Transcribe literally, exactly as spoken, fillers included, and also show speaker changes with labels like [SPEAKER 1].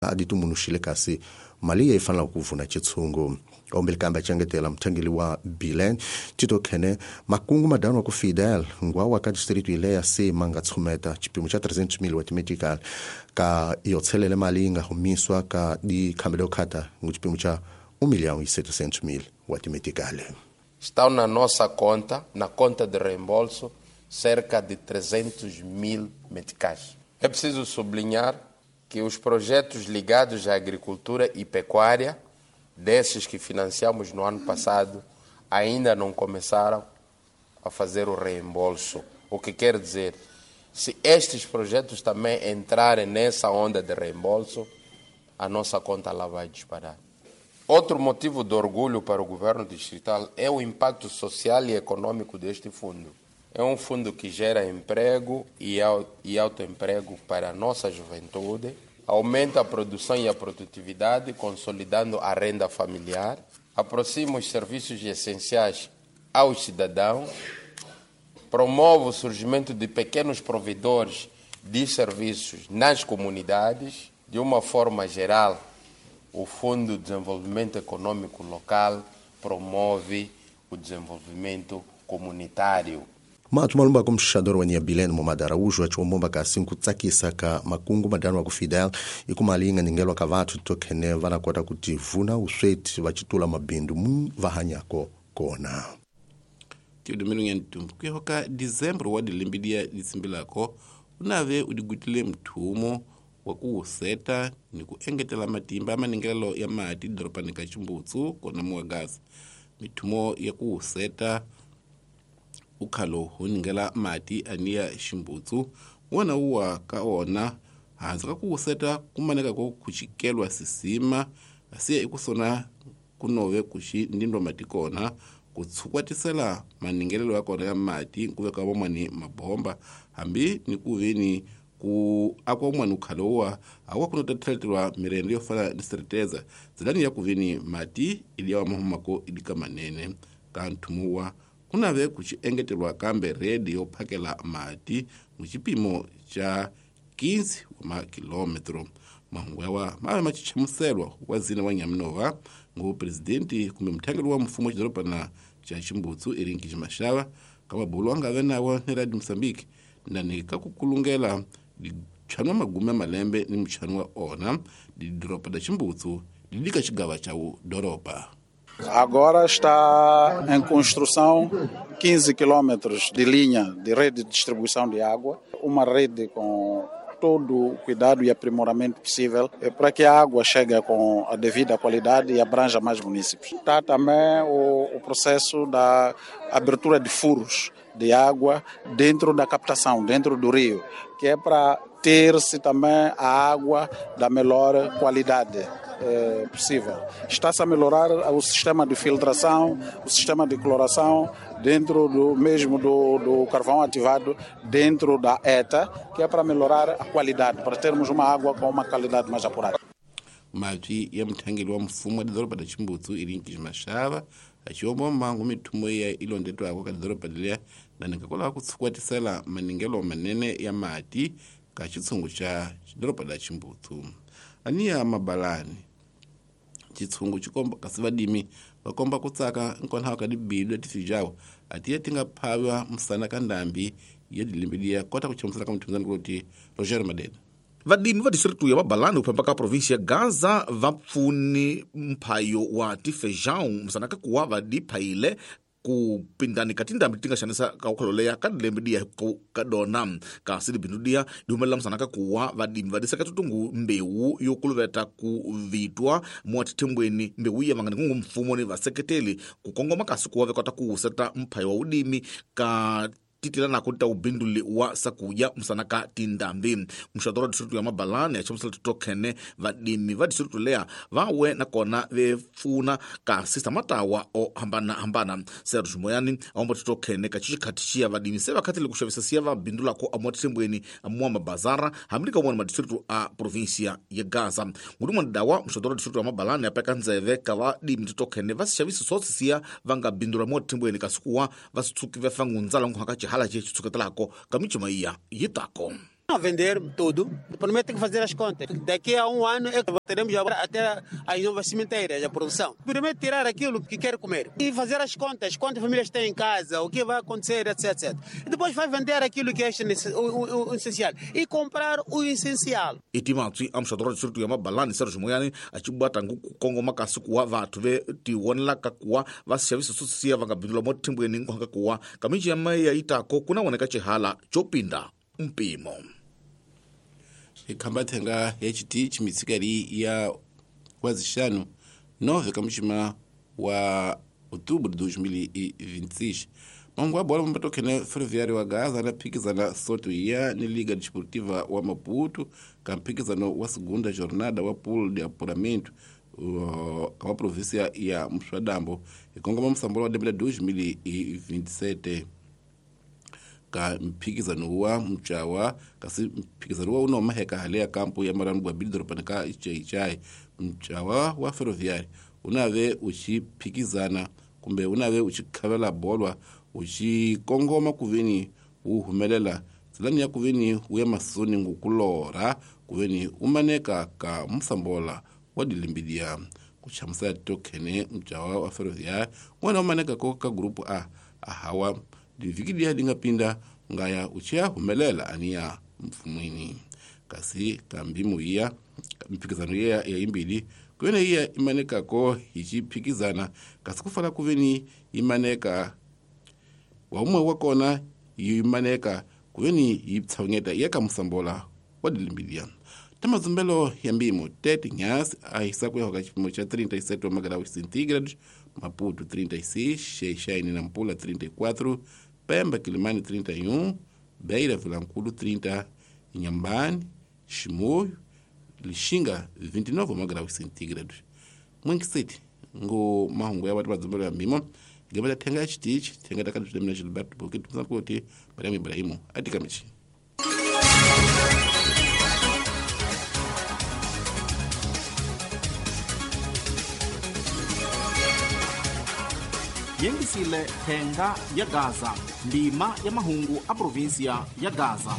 [SPEAKER 1] A ditumbuluxile kasi mali yi fanela ku vuna xitshungu ombili kambe a muthangeli wa Bilen Tito Khene makungu madano ku Fidel ngwa ka district ile ya se manga tshumeta xipimo xa trezentos mil wa timetical ka yo tshelele mali yi nga humiswa ka di khambelo khata ngu xipimo xa um milhão e setecentos mil wa timetical.
[SPEAKER 2] Estão na nossa conta, na conta de reembolso, cerca de trezentos mil meticais. É preciso sublinhar que os projetos ligados à agricultura e pecuária, desses que financiamos no ano passado, ainda não começaram a fazer o reembolso. O que quer dizer, se estes projetos também entrarem nessa onda de reembolso, a nossa conta lá vai disparar. Outro motivo de orgulho para o governo distrital é o impacto social e econômico deste fundo. É um fundo que gera emprego e autoemprego para a nossa juventude, aumenta a produção e a produtividade, consolidando a renda familiar, aproxima os serviços essenciais aos cidadãos, promove o surgimento de pequenos provedores de serviços nas comunidades. De uma forma geral, o Fundo de Desenvolvimento Econômico Local promove o desenvolvimento comunitário.
[SPEAKER 1] Matu malumba ku mxador wa Nyabilene Momad Araújo achiwombomba kasi nkutsakisa ka makungu madano wa ku Fidel i ku mali yi nga ningelwa ka vathu tokhene va na kota ku tivuna usweti va citula mabindu mu va hanyako kona.
[SPEAKER 3] Tiudumelong ya ntumbu kuyaho ka dezembro wa dilembe dia ditsimbilako unave udigutile mthumo wa ku wuseta ni ku engetela matimba maningelelo ya mati doropani ka Chimbutsu kona muwagasa. Mithumo ya ku wuseta ukhalo huningela mati aniya Chimbutsu wona uwa ka ona hansi ka ku wuseta kumaneka ko kuchikelwa sisima asiya ikusona kunove kuxi ndindwa mati kona kutshukwatisela maningelelo ya kona ya mati kuveka vamwani mabomba hambi ni kuveni ku akwa umwani ukhalo wa awa kunotathelelwa mirendo yo fana ni sereteza zilani ya kuveni mati ili ya mahumako ilika manene ka nthumuwa kunave kuxi engetelwa kambe redi yo phakela mati muxipimo xa quinze wa makilometro. Mahungu yawa mave machichamuselwa wa zina wa Nyaminova ngu presidenti kumbe muthangeli wa mfumo wa xidorobana xa Chimbutsu Erinki Mashava ka mabulu angave nawo ni Radio Mozambique ndani ka ku kulungela dichano magume ya malembe ni muchano wa ona didoropa da Chimbutsu didika xigava xa wu doropa.
[SPEAKER 4] Agora está em construção quinze quilômetros de linha de rede de distribuição de água, uma rede com todo o cuidado e aprimoramento possível para que a água chegue com a devida qualidade e abranja mais municípios. Está também o, o processo da abertura de furos de água dentro da captação, dentro do rio, que é para ter-se também a água da melhor qualidade eh, possível. Está-se a melhorar o sistema de filtração, o sistema de cloração, dentro do mesmo do, do carvão ativado, dentro da E T A, que é para melhorar a qualidade, para termos uma água com uma qualidade mais apurada.
[SPEAKER 3] Mati ya muthangeli wa mfumo wa doroba la Chimbutsu Erinki Mashava achiomba mbangu mithumo ya ilondetwako ka doroba liya na nikakola ku tshukwatisela maningelo manene ya mati ka xitshungu xa doroba la Chimbutsu. Aniya mabalani xitshungu xikomba kasi vadimi va komba ku tsaka nkonaho ka dibidu leti atiye ti nga phaviwa musana ka ndambi ya dilembe liya kota ku chamusela ka muthunzani kuloti Roger Madena.
[SPEAKER 5] Vadimi va distritu ya Mabalani ku ka provinsia ya Gaza va pfuni mphayo wa tifejão musana ka kuwa va diphayile ku pindani ka tindhambi ti nga xanisa ka ukholo leya ka dilembe diya ku ka dona kasi dibindu diya di humelela musana ka kuwa vadimi va diseka tutungu mbewu yo kuluveta ku vitwa mua tithembweni mbewu iya vangani kungu mfumo ni vaseketeli ku kongoma kasi kuwa ve kota ku wuseta mphayo wa udimi ka titila nako ta ubinduli wa sakuya musana ka tindambi. Muxadoro wa distritu ya Mabalani ya chamusela titokhene vadimi va distritu leya va we nakona ve pfuna kasi samatawa o hambana hambana. Sergio Moyani aomba titokhene ka xikhati xiya vadimi se va khatile ku xavisa siya va bindulako amuwa tithembweni amuwa mabazara hambi ka wona madistritu a provinsia ya Gaza. Ngudumwana dawa muxadoro wa distritu ya Mabalani ya peka ndzeve ka vadimi titokhene va xavisa swotsi siya va nga bindula muwa tithembweni kasi kuwa va swi tshuki va fangundzala nkuhaka hala je tsuketelako ka michuma iya yitako.
[SPEAKER 6] Vender tudo. Primeiro tem que fazer as contas. Daqui a um ano é que teremos até as novas cimenteiras, a produção. Primeiro tirar aquilo que quer comer e fazer as contas, quantas famílias tem em casa, o que vai acontecer, etc, etcétera. E depois vai vender aquilo que é o, o, o essencial e comprar o essencial.
[SPEAKER 5] Itimatsi amxadora distrito ya Mabalani Sergio Moyani a cibata kongoma kasi kuwa vathu ve tivonelaka kuwa va xavisa swo siya va nga bindula mo thimbweni hinkwako kuwa kaminji ya maya itako kuna voneka xihala xo pinda mpimo.
[SPEAKER 3] Ikhamba thenga ya chitichi mitsikali ya wazixanu nove kamuxima wa outubro de dois mil e vinte e seis. Mangu wa bola mbatokene Ferroviário wa Gaza na phikizana soto ya ni Liga Desportiva wa Maputo ka mphikizano wa segunda jornada wa pool de apuramento uh, ka província ya Mswadambo ikongoma msambolo wa debela dois mil e vinte e sete. Ka mphikizano wa mchawa kasi mphikizano wa unoma heka hale ya kampo ya marangu wa bidoro panaka ichai mchawa wa Ferroviário unave uchiphikizana kumbe unave uchikhavela bolwa uchikongoma kuveni uhumelela tsilani ya kuveni uya masoni ngukulora kuveni umaneka ka msambola wa dilimbidia kuchamusa tokene mchawa wa Ferroviário wana umaneka ko ka grupu A ahawa divikidia dingapinda ngaya uchia humelela ania mfumwini kasi kambimu iya mphikizano iya ya imbili kuveni iya imaneka ko ichiphikizana kasi kufala kuveni imaneka waumwe wakona imaneka kuveni itsawungeta iya kamusambola wa dilimbidia tamazumbelo ya mbimo tete nyasi ahisa kuya chipimo cha trinta e sete graus centígrados Maputo trinta e seis, Xeixai e Nampula trinta e quatro, Pemba, Quilimane trinta e um, Beira, Vilanculo trinta, Inhambane, Chimoio, Lixinga vinte e nove graus centígrados. Mwingi City, ngo mahungu ya watu mazumbelo ya mbimo, gaba tenga chitich, tenga takadu demna Gilberto Boki, tuzakuti, Mariam Ibrahimu, atika michi.
[SPEAKER 5] Yengisile thenga ya Gaza, ndima ya mahungu a província ya Gaza.